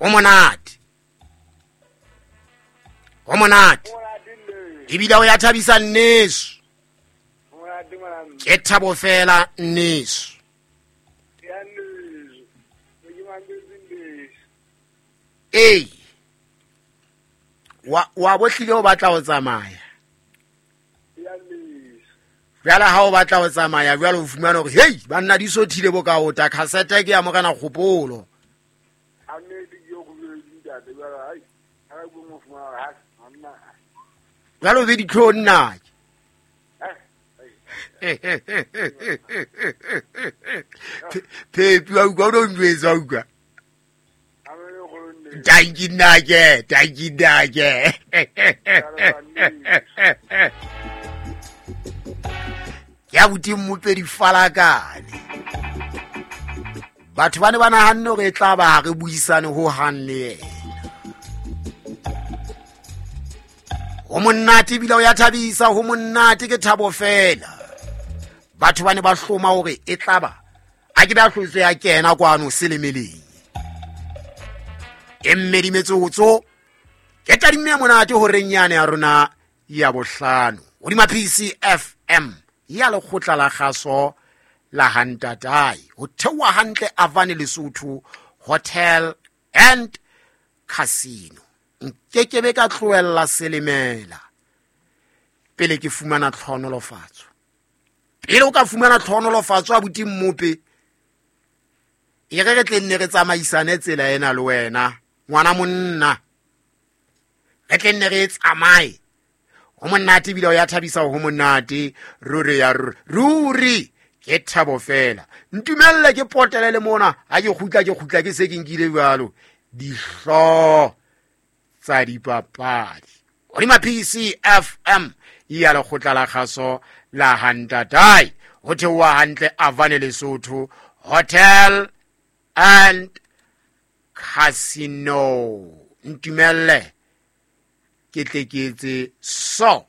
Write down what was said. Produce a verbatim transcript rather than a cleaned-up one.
Ho monate, ho monate ebile o ya thabisa nneso. Ke thabo fela nneso. Ee, wa wa bohlile o batla ho tsamaya. Jwale ha o batla ho tsamaya jwale o fumana hore hei banna di sothile bo ka ota cassette ke ya Morena Kgopolo. Jwale o be ditlhong nna. Phepi wa utlwa o no njwetsa utlwa. Tanki nnake, tanki nnake. Ke abuti Mmope Difalakane. Batho ba ne ba nahanne hore e tla ba ha re buisane ho hang le yena. Ho monate ebile o ya thabisa, ho monate ke thabo fela. Batho ba ne ba hloma hore e tla ba a ke ba hlotse ya kena kwano selemeleng. E mmedi metsotso ke tadimme monate horeng yane ya rona ya bohlano hodima P C F M ya lekgotla la kgaso la Hantatai ho theoha hantle Avane Lesotho Hotel and Casino. Nkekebe ka tlohella selemela pele ke fumana tlhonolofatso. Pele o ka fumana tlhonolofatso abuti Mmope, e re re tle nne re tsamaisane tsela ena le wena ngwana monna, re tle nne re tsamaye. Ho monate ebile o ya thabisa, ho monate ruri ya ruri ke thabo fela. Ntumelle ke potele le mona ha ke kgutla ke kgutla ke se ke nkile jwalo dihlo tsa dipapadi hodima P C F M ya lekgotla la kgaso la Hantatai ho theoha hantle Avane Lesotho Hotel and Casino. Ntumelle ke tle ke etse so.